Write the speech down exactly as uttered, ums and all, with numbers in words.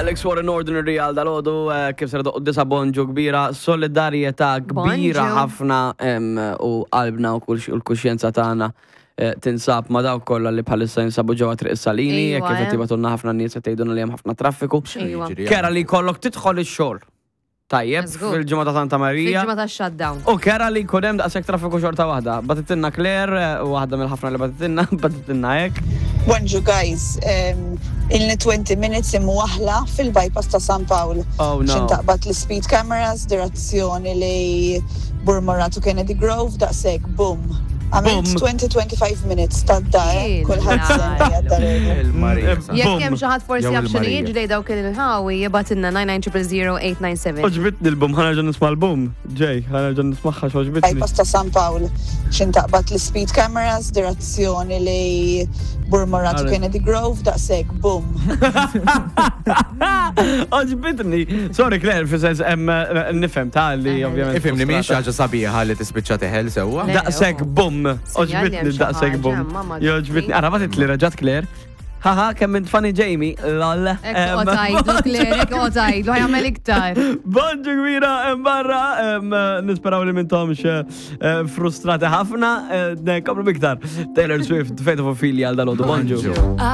Alex Warren, Ordinary għal dalgħodu, eh, kif ser doqqa disa', bonġu kbira, solidarjetà kbira Bonġu. ħafna em, u qalbna u kull- u l-kuxjenza tagħna eh, tinsab ma dawk kollha li bħalissa jinsabu ġewwa Triq is-Salini, Ejwa, jekk kif qed eh. jibagħtulna ħafna nies qed jgħidulna li hemm ħafna traffiku. Ejwa. Jiġri. Kera li jkollok tidħol ix-xogħol. Tajjeb, Żgur. fil-ġimgħa ta' Santa Marija. Fil-ġimgħa ta' shutdown. U kera li jkun hemm daqshekk traffiku xorta waħda. Bagħtitilna Claire, eh, waħda mill-ħafna li bagħtitilna, bagħtitilna hekk. Bonġu guys, um, ilni twenty minutes imwaħla fil-bypass ta' San Pawl. Oh no. Xin taqbad l-speed cameras, direzzjoni li Burmarrad u Kennedy Grove, daqsek, boom. Għamilt Boom. twenty to twenty-five minutes ta' dar, kulħadd semmi għad Il-Marija. Mm, Jekk Boom. hemm xi ħadd forsi Jew jaf x'inhu il-Marija. jiġri dawk il-ħawi, jibgħatilna nine nine zero zero eight nine seven. Għoġbitni l-boom, ħa nerġa' nisma' l-boom. Ġej, ħa nerġa' nismagħha x'għoġbitni. Bypass ta' San Pawl. Xin taqbad l-speed cameras, direzzjoni li Burmarrad u Alright. Kennedy Grove, daqsek, boom. Għoġbitni. Sorry Claire, fi sens em, eh, nifhem ta' li Eh. ovvjament. Ifhimni, mhix frustrata. ħaġa sabiħa li tispiċċa teħel sewwa. Le. Daqsek boom. Sinjal li Għoġbitni hemm xi daqsek ħaġa, boom. mamma. Għoġbitni. Ara bagħtitli reġgħet Claire. Haha, kemm int funny Jamie. Lol. Ekk otajdu, Claire, ekk otajdu, ħa jagħmel iktar. Bonġu kbira hemm barra, em, nisperaw li m'intomx eh, frustrati ħafna, eh, nkomplu b'iktar. Taylor Swift, Fate of Ophelia għal dalgħodu. Bonġu. Bonġu.